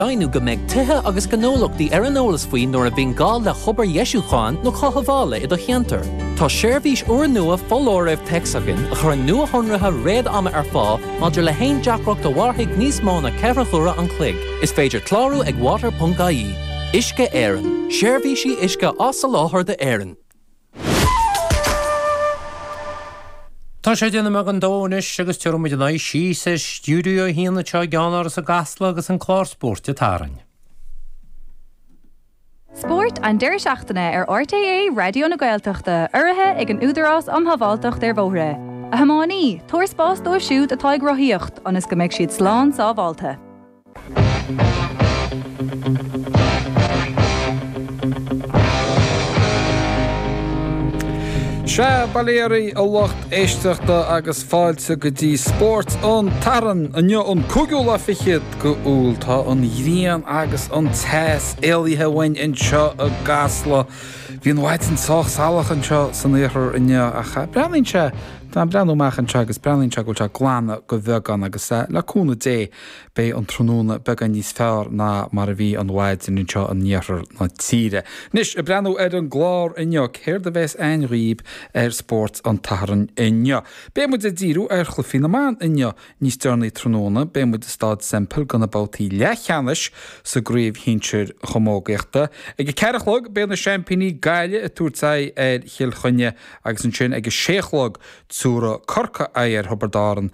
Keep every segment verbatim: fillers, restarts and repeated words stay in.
Deimhniú go mbeidh tithe agus gnólachtaí ar an eolas faoi nuair a bhíonn gá le hobair dheisiúcháin nó cothabhála i do cheantar. Tá seirbhís úrnua foláirimh téacs againn a chuireann nuashonruithe réad-ama ar fáil maidir le haon deacracht a mhairfidh níos mó ná ceithre huaire an chloig. Is féidir clárú ag water.ie. Uisce Éireann, seirbhísí uisce á soláthar d'Éirinn. Tá sé deich nóiméad don dó anois agus tabharfaidh muid ár n-aghaidh síos ar Stiúideo a haon anseo i gceannáras i gCasla agus an clár spóirt ag tarraing. Spórt an deireadh seachtaine ar RTÉ Raidió na Gaeltachta urraithe ag an Údarás um Shábháilteacht ar Bhóithre. A thiománaí, tabhair spás dóibh siúd atá ag rothaíocht ionas go mbeidh siad slán sábháilte. Sea, bail ó Dhia oraibh a lucht éisteachta agus fáilte go dtí Spórt an tSathairn. Inniu an cúigiú lá fichead go Iúil. Tá an ghrian agus an teas éalaithe uainn anseo i gCasla. Bhí an mhaidin sách salach anseo san iarthar inniu ach breathnaíonn sé, tá mé ag breathnú amach anseo agus breathnaíonn sé go bhfuil sé ag glanadh go bheagán agus le cúnamh Dé Beidh an tráthnóna beagán níos fearr ná mar a bhí an mhaidin anseo in iarthar na tíre. Anois, ag breathnú ar an gclár inniu, céard a bheas a'inn dhaoib ar Spórt an tSathairn inniu? Beidh muid ag díriú ar chluichí na mban inniu níos deireanaí tráthnóna. Beidh muid i Staid Semple do na babhtaí leathcheannais sa gcraobh shinsir chamógaíochta. Ag a ceathair a chlog beidh na seaimpíní Gaillimh ag tabhairt aghaidh ar Chill Chainnigh agus ansin ag a sé a chlog Tabharfaidh Corcaigh aghaidh ar Thiobraid Árann,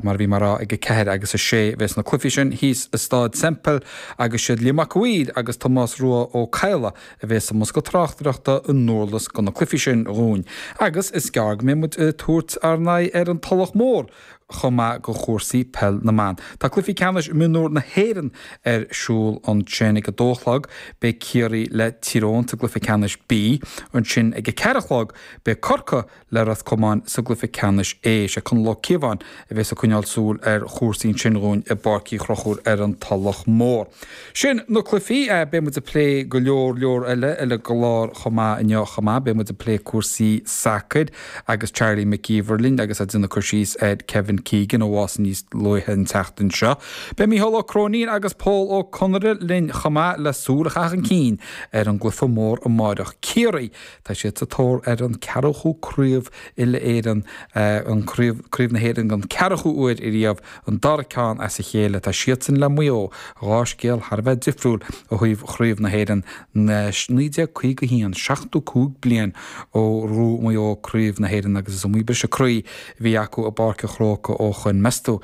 mar a bhí mé a rá, ag a ceathair agus a sé. Bheas na cluichí sin thíos i Stáid Semple agus siad Liam Mac a' Mhaoir agus Tomás Rua Ó Cadhla a bheas i mbosca tráchtaireachta i nDurlas do na cluichí sin dhúinn. Agus is gearr go mbeidh muid ag tabhairt ár n-aghaidh ar an Tulach Mhór chomh maith do chúrsaí peil na mban. Tá cluichí ceannais mionúr na hÉireann ar siúl ansin ag a dó a chlog. Beidh Ciarraí le Tír Eoghain sa gcluiche ceannais B. Ansin ag a ceathair a chlog beidh Corcaigh le Ros Comáin sa gcluiche ceannais A. Sé Conall Ó Cíobháin a bheas ag coinneáil súil ar chúrsaí ansin dhúinn i bPáirc Uí Chonchúir ar an Tulach Mhór. Sin na cluichí. Beidh muid ag plé go leor leor eile ar an gclár chomh maith inniu chomh maith. Beidh muid ag plé cúrsaí sacair agus Charlie Mac Íomhair linn agus é ag déanamh cur síos ar Kevin Keegan a bhásaigh níos luaithe an tseachtain seo. Beidh Mícheál Ó Cróinín agus Pól Ó Conaire linn chomh maith le súil a chaitheamh chun cinn ar an gcluiche mór amáireach. Ciarraí, tá siad sa tóir ar an ceathracha craobh uile-Éireann, an craobh, craobh na hÉireann don ceathracha uair ariamh, an dara ceann as a chéile. Tá siadsan le Maigh Eo, dhá scéal thar a bheith difriúil ó thaobh chraobh na hÉireann naoi déag caoga a haon, seachtó cúig bliain ó ghnóthaigh Maigh Eo craobh na hÉireann agus is iomaí briseadh croí a bhí acu i bPáirc an Chrócaigh ó shoin. Meas tú,